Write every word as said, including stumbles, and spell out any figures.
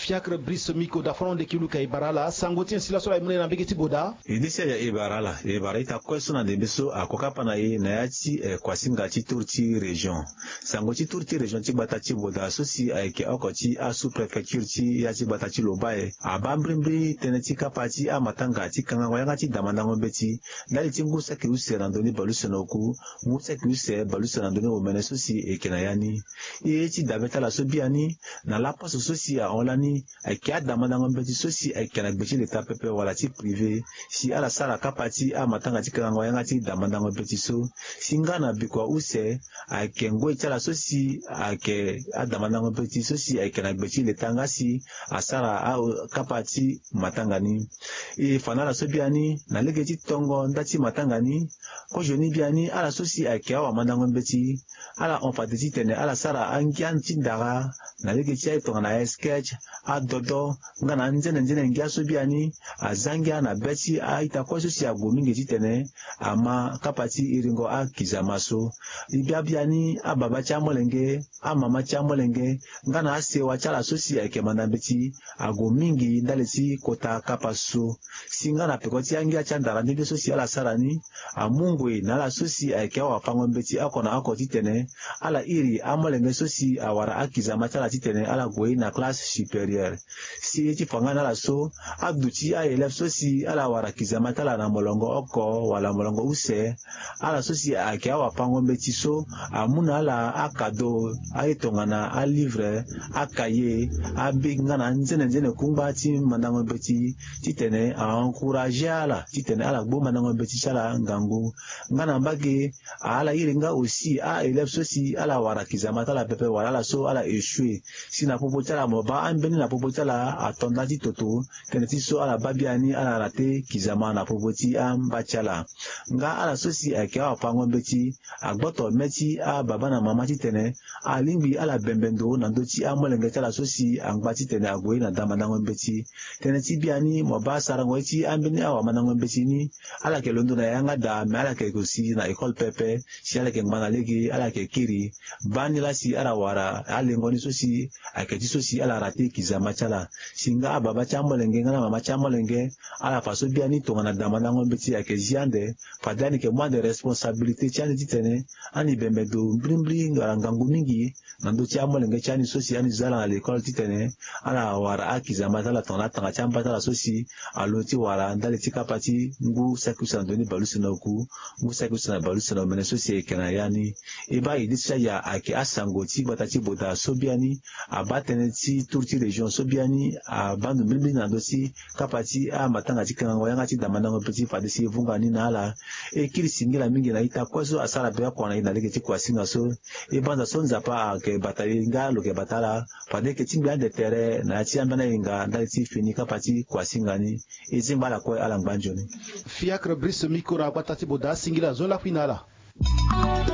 Fiacre Brice Miko da fana onde ki luka e bara ala sango ti nyen si laso ala e mu na e na mbege ti boda. E disi aya e bara ala e bara ita kue so na ndembe so ako kapa na e na ya ti eh, kuasinga ti tour ti région. Sango ti tour ti région ti gbata ti boda so si ayeke oko ti asous-préfecture ti ya ti gbata ti lobae abaa mbirimbiri tënë ti kapa ti amatanga ti kangango yanga ti damandango mbeti ndali ti ngu saki use na ndoni baleuse na oku, ngu saki use baleuse na ndoni omene so si eke na ya ni. E ye ti dabe ti ala so biani na laposo so si ahon lani ayeke adamandango mbeti so si ayeke na gbe ti leta pepe wala ti privé si ala sara kapa ti amatanga ti kangango yanga ti damandango mbeti so. Si nga na bikua use ayeke ngoi ti ala so si ayeke adamandango mbeti so si ayeke na gbe ti leta nga si asara akapa ti matanga ni. E fa na ala so biani na lege ti tongo nda ti matanga ni. Kozo ni biani ala so si ayeke awamandango mbeti ala hon fade titene ala sara angia ti ndara na lege ti aye tongana asketch, adodo nga na anzene nzene ngia so biani aza ngia na be ti a-ita kue so si ague mingi titene ama kapa ti iringo akizama so. E bia biani ababa ti amolenge, amama ti amolenge nga na asewa ti ala so si ayeke manda mbeti ague mingi ndali ti kota kapa so. Si nga na peko ti angia ti andara ndende so si ala sara ni amu ngoi na ala so si ayeke awafango mbeti oko na oko titene ala iri amolenge so si awara akizama ti ala titene ala gue na classe supérieure. Si ye ti fa nga na ala so aduti aélève so si ala wara kizama ti ala na molongo oko wala molongo use, ala so si ayeke awafango mbeti so amu na ala akado aye tongana alivre, akaye, abik nga na anzene nzene kungba ti mandango mbeti titene a-encourage ala titene ala gbu mandango mbeti ti ala ngangu. Nga na mbage ala iri nga aussi aélève so si ala wara kizama ti ala pepe wala ala so ala échoué. Si na popo ti ala mo baa ambeni na popo ti ala ato nda ti toto tënë ti so ala baa biani ala rate kizama na popo ti amba ti ala. Nga ala so si ayeke awafango mbeti agboto me ti ababa na mama titene alingbi ala bembe ndo na ndö ti amolenge ti ala so si angba titene ague na damandango mbeti. Tënë ti biani mo baa sarango ye ti ambeni awamandango mbeti ni ala yeke londo na yanga daa me ala yeke gue si na école pepe. Si ala yeke ngba na lege ala yeke kiri baa ni laa si ala wara alengo ni so si ayeke ti so si ala rate kizama ti ala. Si nga ababa ti amolenge nga na mama ti amolenge ala fa so biani tongana damandango mbeti ayeke zi ande. Fade ani yeke mu ande responsabilité ti ani titene ani bembe ndo mbirimbiri wala ngangu mingi na ndö ti amolenge ti ani so si ani zo ala na lekole titene ala wara akizama ti ala tongana atanga ti amba ti ala so si alondo ti wara ndali ti kapa ti ngu saki use na ndoni baleuse na oku, ngu saki use na baleuse na omene so si eke na ya ni. E baa e de ti aya ayeke asango ti gbata ti boda so biani abaa tënë ti tour ti région so biani abaa ndo mbirimbiri na ndö ti kapa ti amatanga ti kangango yanga ti damandango mbeti fade si e vunga ni na ala. E kiri singila mingi na ita kue so asara be oko na e na lege ti kuasinga so. E banza so Nzapa ayeke bata e nga lo yeke bata ala fade e yeke tingbi ande tere na ya ti ambeni ahinga ndali ti fini kapa ti kuasinga ni. E zingba ala kue ala ngba nzoni. Fiacre Brice Miko na gbata ti boda asingila zo lakui na ala.